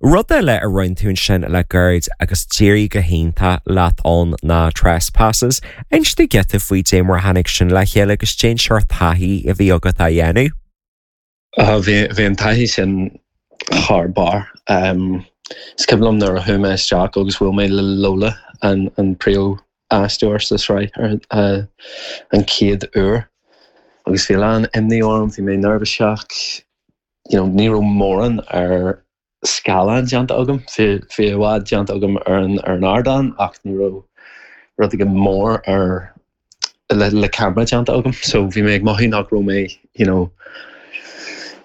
Rud eile a rinne tú ansin le gairid agus d'éirigh go hiontach leat ann ná Trespasses. Inis dúinn giota faoi dé mar tháinig sin le chéile agus cén sórt taithí a bhí agat á dhéanamh. Bhí bhí an taithí sin thar barr. Um, is cuimhin liom nuair a chuaigh mé isteach agus bhuail mé le Lola an an príomh-aisteoir sa sraith ar uh, an chéad uair. Agus bhí lán imní orm, bhí mé neirbhíseach, you know, ní raibh mórán ar scáileán déanta agam, bhí bhí i bhfad déanta agam ar an ar an ardán ach ní raibh rud éigin mór ar le le camera déanta agam, so bhí mé ag mothú nach raibh mé you know,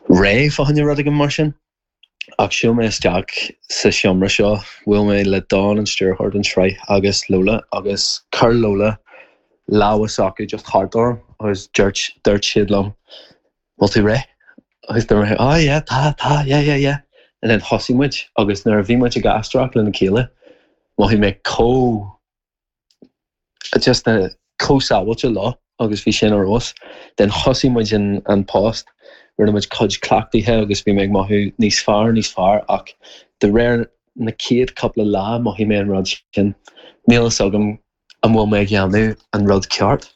réidh fá choinne rud éigin mar sin. Ach shiúil mé isteach sa seomra seo, bhuail mé le Don an stiúrthóir den sraith agus Lola agus chuir Lola lámh s'acu just thart orm agus dúirt dúirt siad liom bhfuil tú réidh? Agus dúirt mé oh yeah tá tá yeah yeah yeah and then thosaigh muid agus nuair a bhí muid ag aisteoireacht lena chéile mhothaigh mé chomh just a chomh sábháilte leo agus bhí sin ar fheabhas. Then thosaigh muid an, an post, rinne muid cuid cleachtaithe agus bhí mé ag mothú níos fearr níos fearr ach de réir na chéad cúpla lá mhothaigh mé an rud sin. Níl fhios agam an bhfuil mé ag déanamh an rud ceart.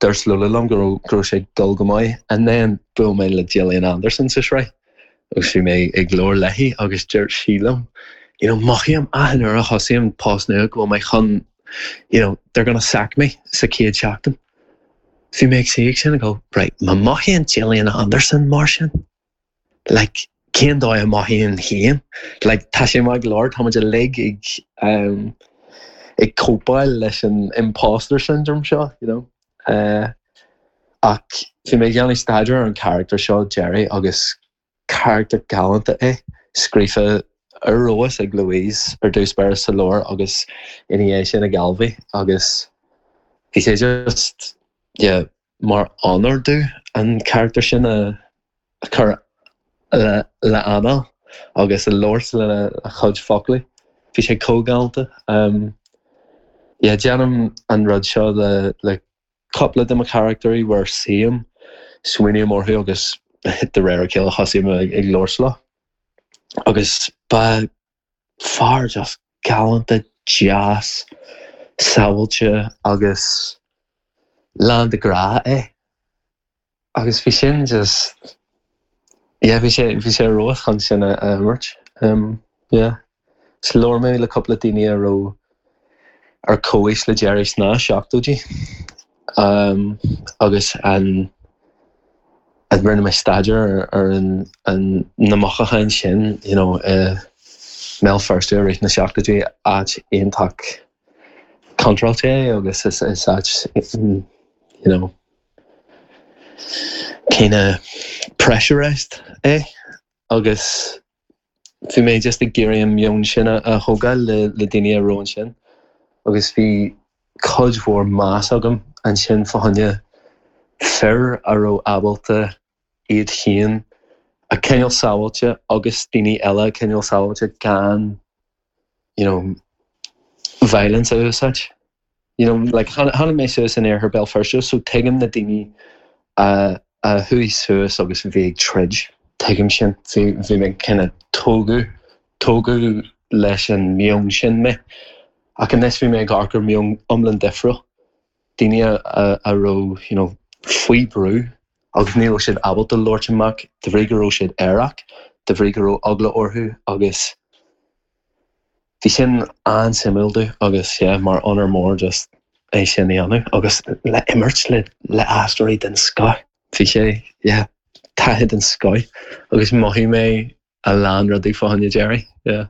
Dúirt Lola liom go raibh go raibh sé ag dul go maith and then bhuail mé le Gillian Anderson sa sraith agus bhí mé ag labhairt léi agus dúirt sí liom you know, mothaím achan uair a thosaím post nua go bhfuil mé chun you know, they're gonna sack me sa chéad seachtain. Bhí mé ag suí sin go right, má mothaíonn Gillian Anderson mar sin like cén dóigh a mothaím féin like tá sé maith go leor tá muid uilig ag um, ag cóipeáil leis an imposter syndrome seo you know uh, ach bhí mé ag déanamh staidéar ar an character seo Jerry agus character galánta é scríofa ar fheabhas ag Louise ar dtús báire sa leabhar agus ina dhiaidh sin ag Ailbhe agus bhí sé just yeah, mar onóir domh an character sin a, a chur le, le anáil agus a labhairt lena a chuid foclaí. Bhí sé chomh galánta. Um, yeah, déanaim an rud seo le, le cúpla de mo characterí where suím smaoiním orthu agus de réir a chéile thosaím ag, ag labhairt leo. Agus ba fear just galánta deas, sábháilte agus lán de ghrá é. Agus bhí sin just yeah, bhí sé bhí sé ró chun sin a, a imirt. Um, yeah. 'S labhair mé le cúpla daoine a raibh ar comhaois le Jerry sna seachtóidí. Um, agus an an rinne mé staidéar ar, ar an, an na mothúcháin sin you know, uh, Béal Feirste i rith na seachtóidí áit iontach contráilte é agus is, is áit you know, kind of pressurized é agus bhí mé just ag iarraidh an meon sin a a thógáil le, le daoine a raibh ansin agus bhí cuid mhór meas agam ansin fá choinne fir a raibh ábalta iad féin a choinneáil sábháilte agus daoine eile a choinneáil sábháilte gan you know, violence a úsáid. You know, like tháinig mé suas in iarthar Béal Feirste, so tuigim na daoine a a chuaigh suas agus bhí ag troid. Tuigim sin bhí bhí mé kind of tógadh tógadh leis an meon sin mé. Ach anois bhí mé ag amharc ar meon iomlán difriúil. Daoine a, a, a raibh you know, faoi brú agus ní raibh siad ábalta labhairt amach de bhrí go raibh siad aerach, de bhrí go raibh eagla orthu agus bhí sin an-suimiúil domh agus yeah, mar onóir mór just é sin a dhéanamh agus le imirt le le aisteoirí den scoth. Bhí sé yeah, taithí den scoth agus mhothaigh mé a lán rudaí fá choinne Jerry. Yeah.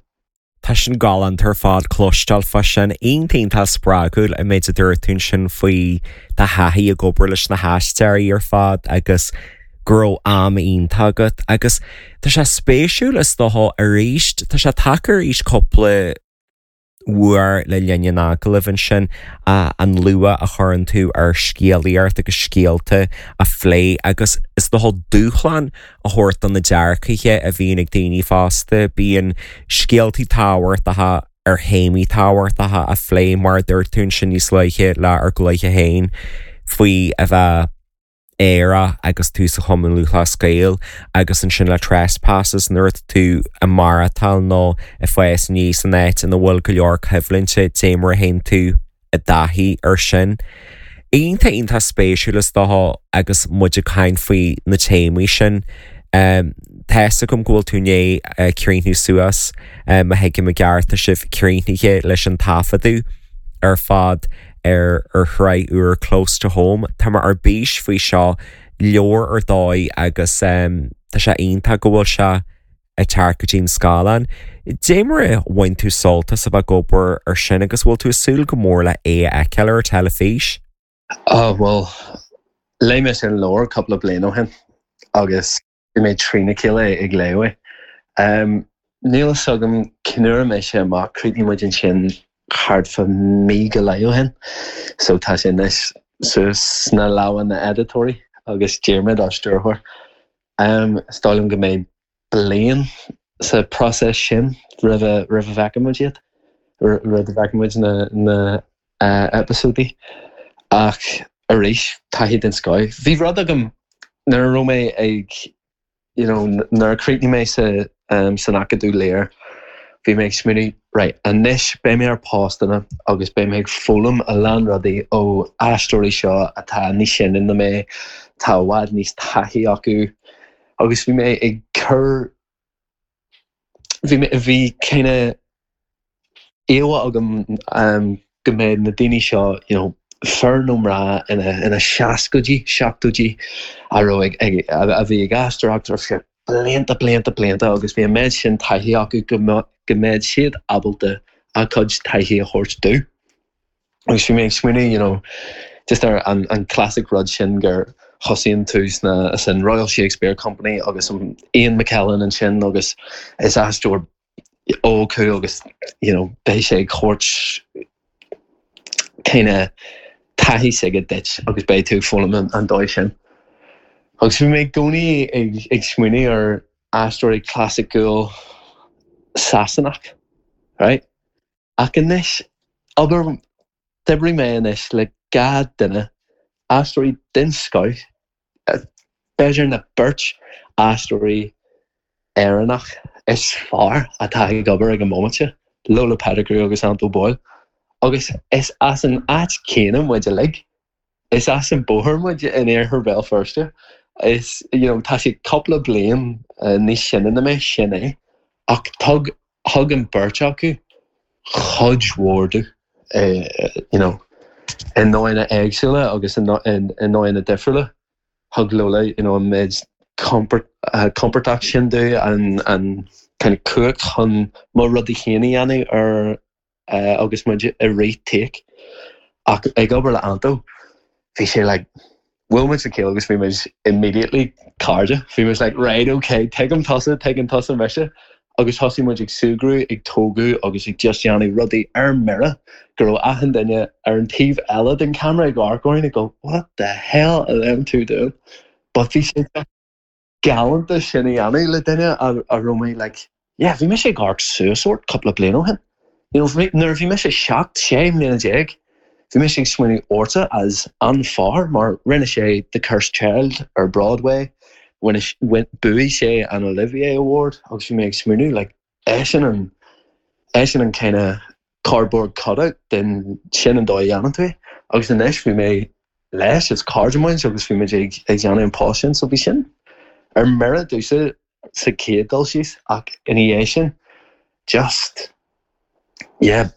Tá sin galánta ar fad cloisteáil fá sin iontach spreagúil an méid a dúirt tú sin faoi do thaithí ag obair leis na haisteoirí ar fad agus go raibh am iontach agat agus tá sé spéisiúil is dócha arís tá sé tagtha arís cúpla uair le linn an agallaimh ansin an luach a chuireann tú ar scéalaíocht agus scéalta a phlé agus is dócha dúshlán a thabhairt do na dearcaithe a bhíonn ag daoine fásta bíonn scéaltaí tábhachtacha ar théamaí tábhachtacha a phlé mar a dúirt tú ansin níos luaithe le ár gcluiche féin faoi a bheith aerach agus tú sa Chumann Lúthchleas Gael agus ansin le Trespasses nuair atá tú ag maireachtáil nó ag fás aníos san áit ina bhfuil go leor coimhlinte dé mar a théann tú i dtaithí ar sin. Iontach iontach spéisiúil is dócha agus muid ag caint faoi na téamaí sin. Um, Tá a fhios agam go bhfuil tú i ndiaidh críochnú suas má thuigim i gceart tá sibh críochnaithe leis an taifeadadh ar fad ar ar shraith úr Close to Home. Tá mé ar bís faoi seo leor ar dóigh agus um, tá sé iontach go bhfuil sé ag teacht go dtí an scáileán. Dé mar a bhain tú sult as a bheith ag obair ar sin agus bhfuil tú ag súil go mór le é a fheiceáil ar teilifís? Oh, well, léigh mé sin leabhar cúpla bliain ó shin agus bhí mé trína chéile ag léamh é. Um, níl a fhios agam cén uair a mbeidh sé amach chríochnaigh muid ansin thart fá mí go leith ó shin. So tá sé anois suas sna lámha na n-editóirí agus Diarmuid ár stiúrthóir. Um, is dóigh liom go mbeidh bliain sa process sin roimh a roimh a bhfeicfidh muid iad, roimh a bhfeicfidh muid na na uh, eipeasóidí. Ach arís taithí den scoth. Bhí rud agam nuair a raibh mé ag you know, nuair a chríochnaigh mé sa um, san Acadamh Lir, bhí mé ag smaoineamh right, anois beidh mé ar postanna agus beidh mé ag foghlaim a lán rudaí ó aisteoirí seo atá níos sine ná mé, tá i bhfad níos taithí acu agus bhí mé ag cur bhí mé bhí kinda íomhá agam um, go mbeidh na daoine seo you know, fear nó mná ina ina seascaidí seachtóidí a raibh ag ag a bhí ag aisteoireacht ar feadh blianta blianta blianta agus bhí an méid sin taithí acu go go mbeidh siad ábalta a cuid taithí a thabhairt domh. Agus bhí mé ag smaoineamh you know, just ar an, an classic rud sin gur thosaíonn tú sna san Royal Shakespeare Company agus an Ian McKellen ansin agus is aisteoir óg thú agus you know, beidh sé ag thabhairt kinda taithí s'aige duit agus beidh tú ag foghlaim an, an dóigh sin. Agus bhí mé i gcónaí ag, ag smaoineamh ar aisteoirí clasaiceach Sasanach, right? Ach anois obair d'oibrigh mé anois le dhá duine aisteoirí den scoth, b'fhéidir na beirt aisteoirí Éireannach is fearr atá ag obair ag an móimint seo, Lola Petticrew agus Anto Boyle. Agus is as an áit céanna muid uilig. Is as an bóthar muid in iarthar Bhéal Feirste. Is you know, tá sé cúpla bliain uh, níos sine ná mé sin é. Ach thug thug an beirt acu chuid mhór domh uh, you know, i ndóigheanna éagsúla agus i ndóigheanna difriúla. Thug Lola you know, an méid comport, uh, compordach sin domh an, an kind of cumhacht chun mo rudaí féin a dhéanamh ar uh, agus muid i rith take. Ach ag obair le Anto, bhí sé like, bhuail muid le chéile agus bhí muid immediately cairde. Bhí muid like, right, okay, tuigim tusa, tuigeann tusa mise. Agus thosaigh muid ag súgradh, ag tógadh agus ag just déanamh rudaí ar mire go raibh achan duine ar an taobh eile den camera ag amharc orainn ag go, what the hell are them two doing? But bhí sé galánta sin a dhéanamh le duine a, a raibh mé like, yeah, bhí mise ag amharc suas ort cúpla bliain ó shin. You know, nuair a bhí mise seacht sé mbliana déag, bhí mise ag smaoineamh ortsa as an fear mar rinne sé The Cursed Child ar Broadway, bhuaigh sé an Olivier Award agus bhí mé ag smaoineamh like, eisean an eisean an kind of cardboard cutout den sin an dóigh a dhéanann tú é. Agus anois bhí mé leis is cairde muid agus bhí muid ag ag déanamh an post sin, so bhí sin ar mire domhsa sa chéad dul síos ach ina dhiaidh sin just yeah,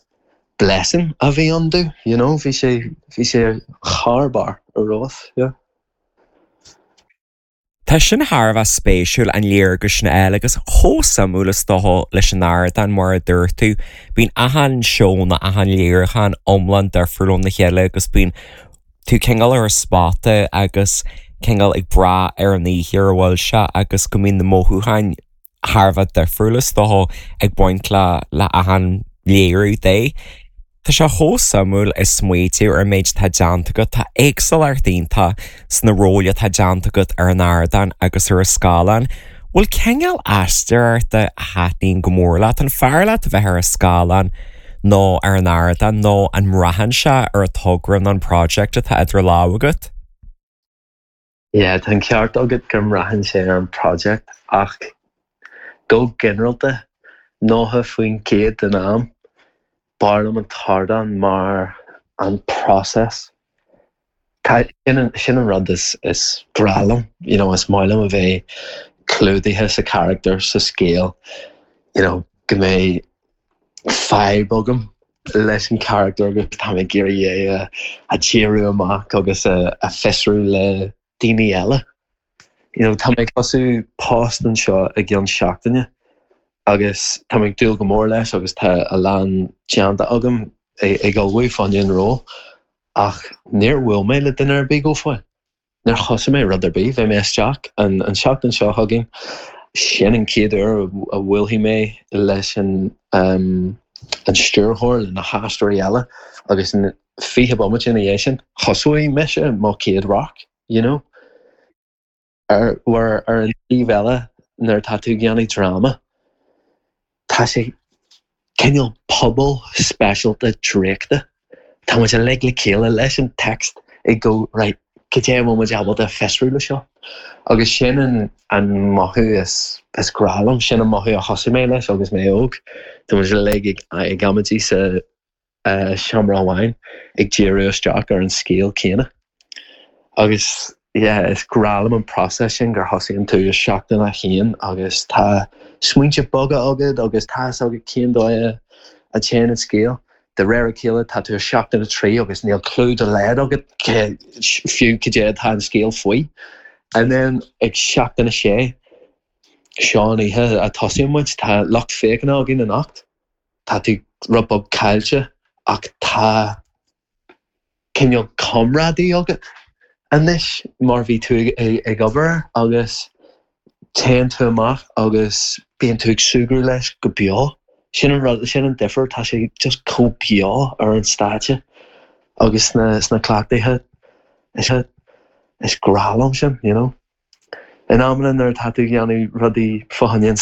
blessing a bhí ann domh, you know, bhí sé bhí sé thar barr ar fad, yeah. Tá sin thar a bheith spéisiúil an léargas sin eile agus chomh suimiúil is dócha leis an ardán mar a dúirt tú, bíonn achan seó nó achan léiriúchán iomlán difriúil óna chéile agus bíonn tú cineál ar an spota agus cineál ag brath ar an oíche ar a bhfuil sé agus go mbíonn na mothúcháin thar a bheith difriúil is dócha ag baint le le achan léiriú de. Tá sé chomh suimiúil ag smaoitiú ar an méid atá déanta agat, tá éagsúlacht iontach sna róil atá déanta agat ar an ardán agus ar an scáileán. Bhfuil cineál aisteoireachta a thaitníonn go mór leat an fearr leat a bheith ar an scáileán nó ar an ardán nó an mbraitheann sé ar an togra nó an project atá idir lámha agat? Yeah, tá an ceart agat go mbraitheann sé ar an project ach go ginearálta nócha faoin gcéad den am b'fhearr liom an t-ardán mar an process. Tá sin an, sin an rud is, is grá liom, you know, is maith liom a bheith clúdaithe sa character sa scéal, you know, go mbeidh fadhb agam leis an character agus tá mé ag iarraidh é a, a díriú amach agus a, a fiosrú le daoine eile. You know, tá mé ag tosú post anseo i gceann seachtaine agus tá mé ag dúil go mór leis agus tá a lán déanta agam ag ag ullmhú fá choinne an ról ach níor bhuail mé le duine ar bith go fóill. Níor thosaigh mé rud ar bith, bheidh mé isteach an, an seachtain seo chugainn sin an chéad uair a bhuailfidh mé leis an um, an stiúrthóir le na haisteoirí eile agus an fiche bomaite ina dhiaidh sin thosóidh mise mo chéad radharc, you know? Ar ar ar an taobh eile nuair atá tú ag déanamh dráma, tá sé cineál pobal speisialta draíochta. Tá muid uilig le chéile leis an text ag go right, cad é a bhfuil muid ábalta fiosrú le seo. Agus sin an, an mothú is, is grá liom, sin an mothú a thosaigh mé leis agus mé óg. Tá muid uilig ag, ag amaidí sa uh, seomra amháin ag díriú isteach ar an scéal céanna. Agus yeah, is grá liom an process sin gur thosaíonn tú i seachtain a haon agus tá smaointe beaga agat agus tá agat cén dóigh a téann an scéal. De réir a chéile tá tú i seachtain a trí agus níl clue dá laghad agat fiú cad é atá an scéal faoi. And then ag seachtain a sé seo an oíche a tosaíonn muid tá lucht féachana againn anocht. Tá tú rud beag caillte ach tá cineál comrádaí agat anois mar bhí tú ag, ag obair agus téann tú amach agus bíonn tú ag súgradh leis go beo. Sin an rud sin an difear tá sé just chomh beo ar an stáitse agus sna sna cleachtaithe is is grá liom sin, you know. In amanna nuair atá tú ag déanamh rudaí fá choinne an